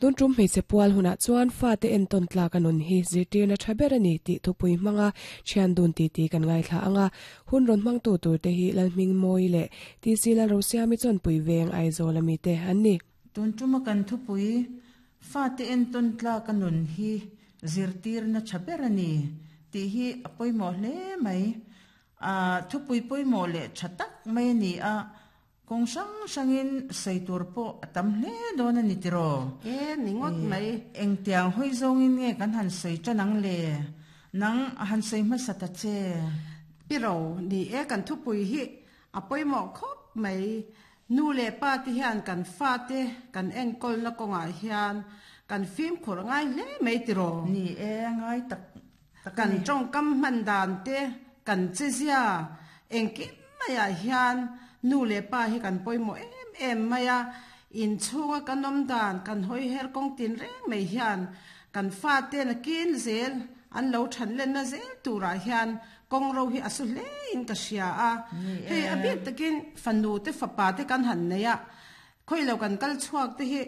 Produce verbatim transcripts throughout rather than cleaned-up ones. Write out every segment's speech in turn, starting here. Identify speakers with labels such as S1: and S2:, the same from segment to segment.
S1: Tun tum hmeichhe pual hunah chuan fate entawn tlak a nun hi zirtirna tha ber a ni tih thupui hmanga thian dun titi kan ngaithla anga hun rawn hmangtu tur te hi Lalhmingmawi leh T C Lalrosiami Chawnpui Veng Aizawl ami te an ni.
S2: Tun tuma kan thupui fate entawn tlak a nun hi zirtirna tha ber a ni tih hi a pawimawh hle mai. Thupui pawimawh leh tha tak mai a ni a, kawng hrang hrangin sawi tur pawh a tam hle dawn a ni tiraw?
S3: E, ni ngawt mai.
S2: Engtiang hawi zawngin nge kan han sawi tan ang le? Nang han sawi hmasa ta che.
S3: Pi ro, ni e, kan thupui hi a pawimawh khawp mai. Nu leh pa te hian kan fate kan enkawlna kawngah hian kan fimkhur ngai hle mai tiraw?
S2: Ni e, ngai tak tak a
S3: Kan
S2: ni.
S3: tawngkam hman dan te, kan chezia engkim maiah hian nu leh pa hi kan pawimawh em em mai a. Inchhunga kan awm dan, kan hawi her kawng tin reng mai hian kan fate nakin zel an lo than lenna zel turah hian kawng ro hi a su hle in ka hria a.
S2: Ni
S3: Hei
S2: e.
S3: a bik takin fanu te fapa te kan han nei a, khawi lo kan kal chhuak te hi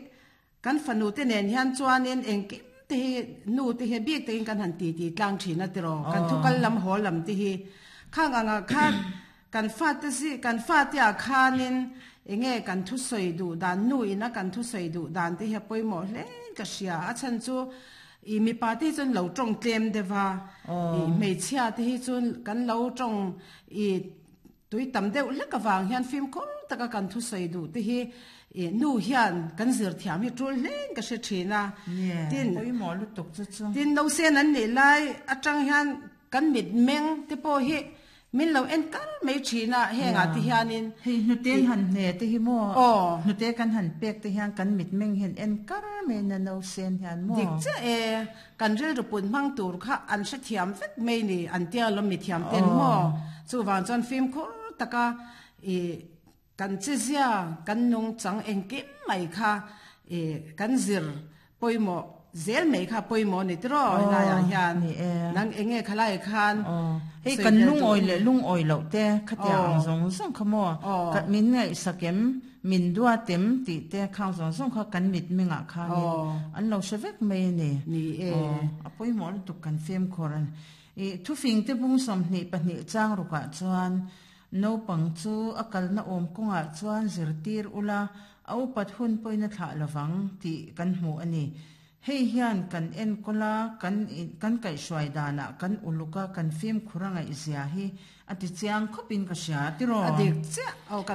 S3: kan fanu te nen hian chuanin engkim te hi nu te hi bik takin kan han ti ti tlang thin a tiraw, kan thu kal lam haw lam te hi khang anga khan kan fa te si kan fa te ah khanin enge kan thu sawi duh dan nu ina kan thu sawi duh dan te hi a pawimawh hle ka hria. A chhan chu i mipa te hi chuan lo tawng tlem deuha, i hmeichhia te hi chuan kan lo tawng i tui tam deuh hlek avang hian fimkhur taka kan thu sawi duh te hi nu hian kan zir thiam hi tul hlein ka hre thin a. Tin
S2: pawimawh lutuk chu chu.
S3: Tin nausen an nih lai atang hian kan mit meng te pawh hi min lo en kar mai thin a, hengah te hianin
S2: hei hnute han hne te hi maw,
S3: aw
S2: hnute kan han pek te hian kan mit meng hian en kar mai na nausen hian maw.
S3: Dik che e, kan rilru put hmang tur kha an hre thiam vek mai ni an tia lawm mi thiam ten maw. Chuwang chuan fimkhur taka i kan chezia kan nung chang engkim mai kha i kan zir pawimawh zel mai kha pawimawh ni tiraw helaiah hian nang enge khalai khan
S2: hei kan lungawi leh lungawi loh te khatiang ang zawng zawng kha maw, min ngaihsakem min duatem tih te khang zawng zawng kha kan mit mengah khanin an lo hre vek mai a ni.
S3: Ni e,
S2: a pawimawh lutuk kan fimkhur a ni. I thufing te bung sawmhnih pahnih chang rukah chuan naupang chu a kalna awm kawngah chuan zirtir ula a upat hun pawhin a thlah lovang tih kan hmu a ni. Hei hian kan enkawla kan kan kaihhruai danah kan uluka kan fimkhur a ngaihzia hi a ti chiang khawpin ka hria tiraw.
S3: A dik chiah aw kan